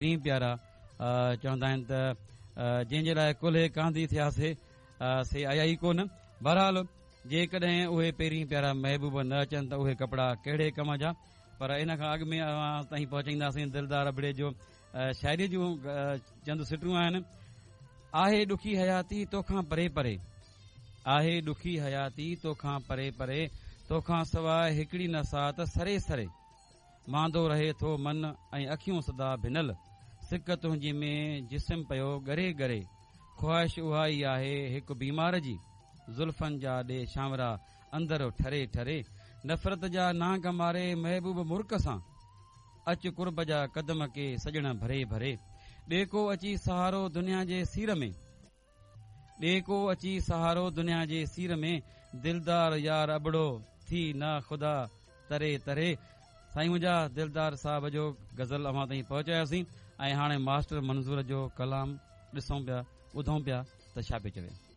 پرين پيارا چوندا آهن ته جنهن جي لاء ڪلهي ڪانڌي ٿياسي سي آيا ئي ڪونه. بهرحال جيڪڏهن اهي پرين پيارا محبوب نه اچن ته اهي ڪپڙا ڪهڙي ڪم جا. پر ان کان اڳ ۾ اوهان تائين پهچائينداسين دلدار ابڙي جو شاعري جون چند سٽون آهن. آهي ڏکي حياتي توکان پري پري، آهي ڏکي حياتي توکان پري پري، توکان سواء هڪڙي نه ساعت سري سري. ماندو رهي ٿو من ۽ اکيون سدا ڀنل، سڪ تنهنجي ۾ جسم پيو ڳري ڳري، خواهش اها ئي آهي هڪ بيمار جي، زلفن جا ڏي ڇانورا اندر ٺري ٺري، نفرت جا نانگ ماري محبوب مرڪ سان، اچ قرب جا قدم ڪي سڄڻ ڀري ڀري، ڏي ڪو اچي سهارو دنيا جي سير ۾. ڏي ڪو اچي سهارو دنيا جي سير ۾، دلدار يار ابڙو ٿي نا خدا تري تري. سائين منهنجا دلدار صاحب جو غزل اوهان تائين پهچاياسين ۽ هاڻي ماسٽر منظور جو ڪلام ڏسون پيا ٻڌون پيا ته ڇا پيو چوي.